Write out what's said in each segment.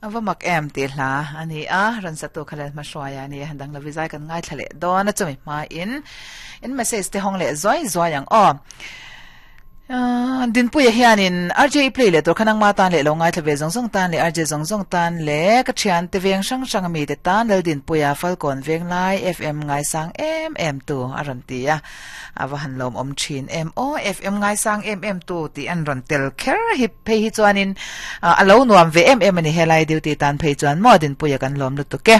A va mak em tih hla a ni a, rawn satu kha leh hmahruaia a ni a, dang lo vizai kan ngaithla leh dawn a chumi hmain in message te hawng leh zuai zuai ang aw. Dinpuia hianin RJ play leh tur kha nangma tan leh lo ngaithla ve zawng zawng tan leh RJ zawng zawng tan leh ka thiante veng hrang hrang ami te tan Laldinpuia Falkawn Venglai FM ngaisang em em tu a rawn ti a. A va han lawmawm thin em aw FM ngaisang em em tu tih an rawn tel kher hi phei hi chuanin a lo nuam ve em em a ni helai duty tan phei chuan maw Dinpuia kan lawm lutuk e.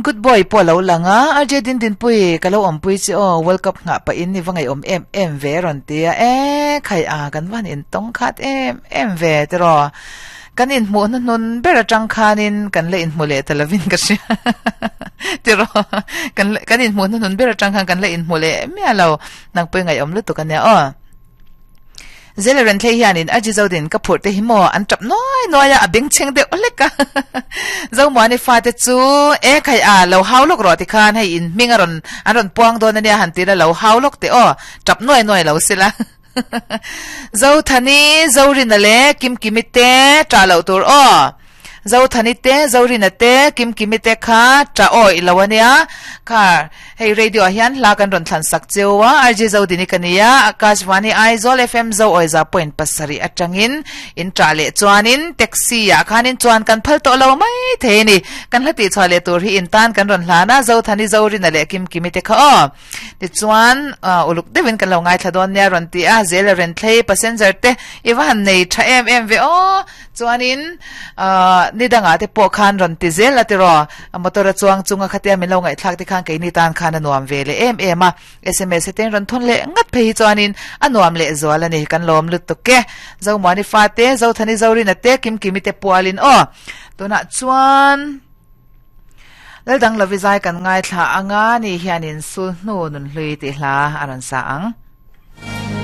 Good boy pawh a lo lang a RJ Din Dinpui ka lo awmpui che aw World Cup nghah pahin i va ngaihawm em em ve a rawn ti a e khai a kan va han intawng khat em em ve tiraw. Kan inhmuh hnuhnun ber atang khanin kan la inhmu leh ta lovin ka hria. Tiraw? Kan kan inhmuh hnuhnun ber atang khan kan la inhmu leh miah lo. Nang pawh i ngaihawm lutuk ania aw. Zela Renthlei hianin a Jizodin ka phurh te hi maw an tap nuai nuai a, a bengchheng deuh hlek a. Zomuani fate chu e khai a lo hau lawk rawh tikhan hei in hming a rawn an rawn puang dawn ania han tila lo hau lawk teh aw. Tap nuai nuai lo sila. Zothani, Zorina leh Kimkimi te ṭah loh tur aw. Zothani te, Zorina te, Kimkimi te kha ṭah awih lo a nia. Kha hei radio ah hian hla kan rawn thlan sak cheu a, RG Zodini ka ni a, Akashvani Aizawl FM Zo Awiza point pasarih atangin in ṭah leh chuanin taxi ah khanin chuan kan phal tawh lo mai thei a ni. Kan hla tihchhuah leh tur hi in tan kan rawn hlan a, Zothani, Zorina leh Kimkimi te kha aw. Tichuan, uluk deuhin kan lo ngaithla dawn nia rawn ti a, Zela Renthlei passenger te i va han nei tha em em ve aw. Chuanin, ni dangah te pawh khan rawn ti zel a tiraw, motor a chuang chunga khatia min lo ngaihthlak te khan keini tan khan a nuam ve leh em em a. Sms te rawn thawn leh ngat phei hi chuanin a nuam leh zual a ni, kan lawm lutuk e. Zomuani fate, Zothani Zorina te, Kimkimi te pualin aw. Tunah chuan. Laldang Lovizai kan ngaithla anga ni hianin Sulhnu Nunhlui tih hla a rawn sa ang.